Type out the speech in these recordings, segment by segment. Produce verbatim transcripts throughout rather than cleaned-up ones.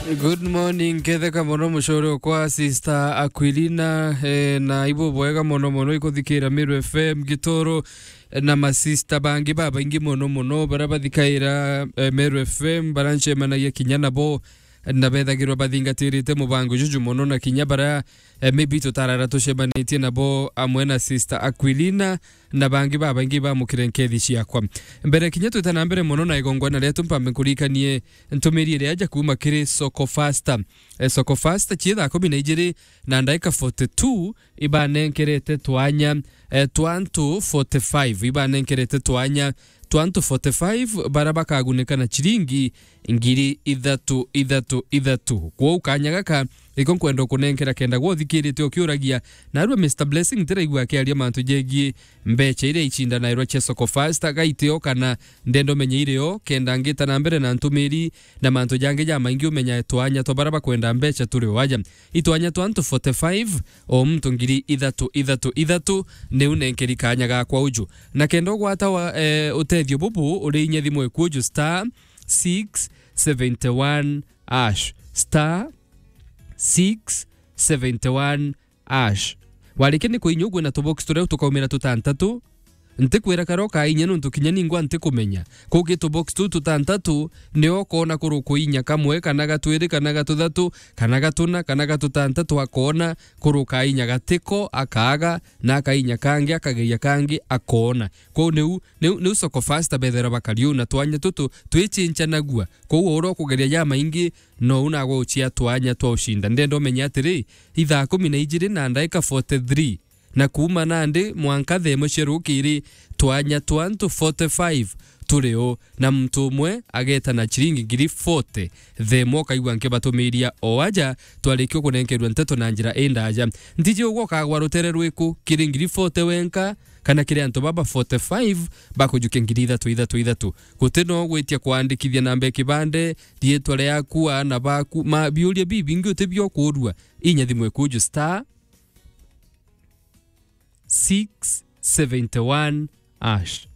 Good morning, ketheka mono mucore okwa Sister Aquilina, eh, na ibu bwega mono mono ikuthikira Meru F M Gitoro, eh, na masista bangi babaingi mono mono bara bathikaira, eh, Meru F M, bara ncemanagia kinya nabo, na bethagirwa bathingatirite mubango juju mono, na kinya bara, eh, maybe tutarara tucemanitie nabo amwe na Sister Aquilina, na bangi babaingi bamukire nkethi ciakwa. Mbere kinya twita na mbere mono na igongwana rietu, mpambe nkurikanie ntumiri iria aja kuuma kiri Soko Fasta. Eh, Soko Fasta, cii thaa kumi na ijiri na ndaika forty-two, ibanenkerete twanya, eh, twa antu forty-five, ibanenkerete twanya twa antu forty-five bara bakagunika na ciringi ngiri ithatu, ithatu, ithatu. Kwou kanya gaka iko nkwenda ukunenkera kenda gwa uthikirite ukiuragia, narua Mister Blessing ntiraigua akiaria mantu jegie mbecha iria icindanairwa cia Soko Fasta, gaitio kana ndenda umenye irio, kenda ngita na mbere na ntumiri na mantu jangi jamaingi umenya twanya twa bara bakwenda mbecha turi o aja. Itwanya twa antu forty-five, o muntu ngiri ithatu, ithatu, ithatu, niu nenkeri kanya gakwa uju. Na kenda ugwata wa, eh, utethio bubu, uri inya thimu eku uju star six seventy one hash, star six seventy one hash. Warikia ni kuinya ugwe na tubox turia tukaumira tutantatu, ntikwira kara ukainya nontu kinya ningwa ntikumenya. Kugi tubox tu tutantatu, nio ukona kuruku inya kamwe, kana gatwiri, kana gatuthatu, kana gatuna, kana gatutantatu, akona kuruka inya gatiko, akaaga, na akainya kangi, akageria kangi, akona. Kwou niu, niu, niu Soko Fasta bethera bakari uu na twanya tutu twichincanagua. Kwou ura ukugeria jamaingi, nou nagwe ucia twanya twa ucinda. Ndenda umenye atiri, ithaa kumi na ijiri na ndaika forty-three, na kuuma nandi mwanka thaa imwe cia rukiri, twanya twa antu forty-five turi o, na muntu umwe ageta na ciringi ngiri forty. Thaa imwe ukaigua nkibatumiria o aja, twarikia kunenkerua nteto na njira indaja. Ntiji ugwe ukagwa rutere rwiku, kiri ngiri forty wenka, kana kiri antu baba forty-five bakujukia ngiri ithatu, ithatu, ithatu. Guti no gwitia kwandikithia namba ya kibande, riitwa riaku, aana baku, ma biuria bibingi uti biokurua. Inya thimu ikuju star six seventy one hash.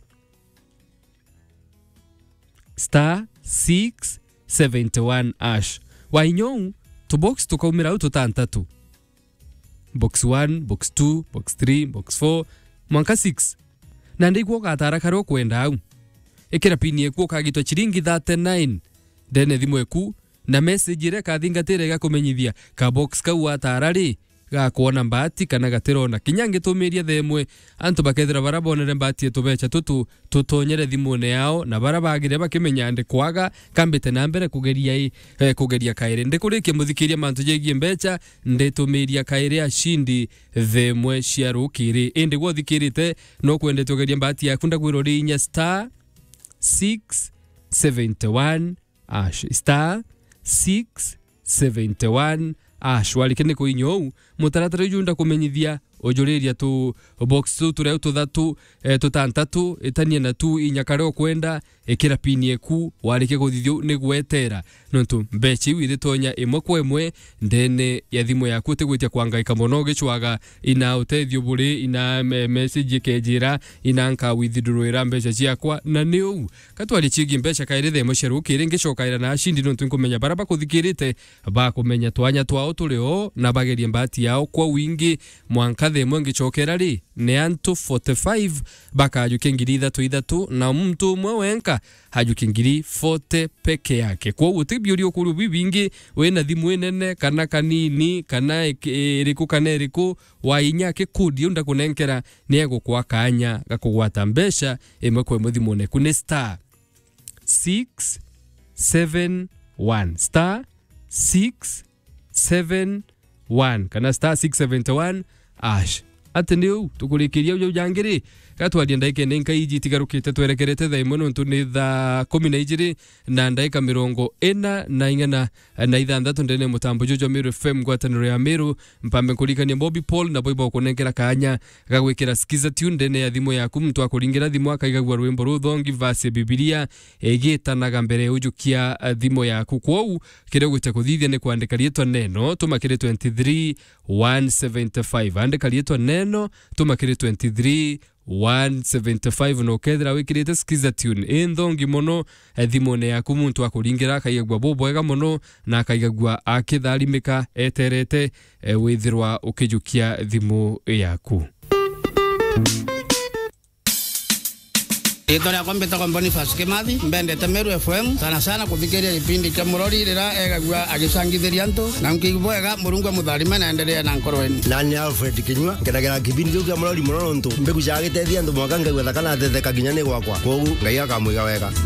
Star six seventy one hash. Wainyou, tubox tukaumira au tutantatu. Box one, box two, box three, box four, mwanka six. Na ndaigua ugatara karia ukwenda au. Ikira pini eku ukagitwa ciringi thirty-nine ndene thimu eku, na message iria ikathingatira igakumenyithia ka box kau watara ri, gakwona mbaati kana gatirona. Kinya ngitumiria thaa imwe, antu bakethira bara bonere mbaati ya tubecha tutu tutonyere thimune yao, na bara bagire bakimenya ndi kwaga, kambite na mbere kugeria i, eh, kugeria kairi. Ndikurikia muthikiria mantu jegie mbecha, nditumiria kairi ashindi thaa imwe cia rukiri. Indi gwe uthikirite, no kwendete ugeria mbaati yaku, ndagwira uri inya star six seventy one hash, star six seventy one hash. Warikia ni kuinya uu, mutaratara uju ndakumenyithia ujuriria tu box tu turia tuthatu, eh, tutantatu, itania na tu inya karia ukwenda, ikira pini eku, warikia kuthithia uu ni gwetera. Nontu mbecha iu iritonya imwe kwa imwe ndene ya thimu yaku, utigwitia kwangaika mono ugicwaga ina utethio buri, ina me-, message ikejira, ina nka withdrawira mbecha ciakwa, na ni uu. Ka twarie cigie mbecha kairi thaa imwe cia rukiri, ngicokaira na ashindi nontu nkumenya bara bakuthikirite bakumenya twanya twao turi o, na bagerie mbaati yao kwa wingi, mwanka thaa imwe ngicokera ri, ni antu forty-five bakajukia ngiri ithatu ithatu, na muntu umwe wenka ajukie ngiri forty peke yake. Kwou uti biuria ukuria bibingi, wina thimu inene kana kanini, kana iki-, iriku kana iriku, wainya akikundi u ndakunenkera, ni egukwa kanya ga kugwata mbecha imwe kwa imwe thimune eku. Ni star six seven one, star six seven one, kana star six seventy one hash. Ati ni uu, tukurikiria uu jau jangi ri, gatwaria ndaika ine nka iji itigarukite, twerekerete thaa imwe nontu ni thaa kumi na ijiri na ndaika mirongo ina na ing'ana na ithanthatu ndene ya mutambo juju jwa Meru F M, ngwataniro ya Meru. Mpambe nkurikania Bobby Paul, nabo ibagukunenkera kanya ga gwikira Skiza Tune ndene ya thimu yaku. Muntu akuringira thimu akaigagua rwimbo ruthongi, verse ya Bibilia igitanaga mbere ya ujukia, eh, thimu yaku. Kwou, kiria ugwita kuthithia ni kwandika riitwa Neno, tuma kiri twenty three one seventy five. Andika riitwa Neno, tuma kiri twenty three one seventy five, na ukethira wikirite Skiza Tune i nthongi mono, eh, thimune yaku, muntu akuringira akaigagua bubwega mono, na akaigagua akitharimika eterete, eh, withirwa ukijukia thimu yaku. Riitwa riakwa mbitagwa Boniface Kimathi, mbendete Meru F M, sana sana kuthikiria gipindi kia Murori riria egagua agicangithiria antu, na nkiigua bwega, Murungu amutharime na endelee na nkoro yenu. Nani Alfred Kinyua, nkenagira kipindi kiu kia Murori mono nontu mbigucaga giteethia antu mwanka ngaigua thaka na ateetheka kinya ni gwakwa. Kwogu Ngai akamwiga wega.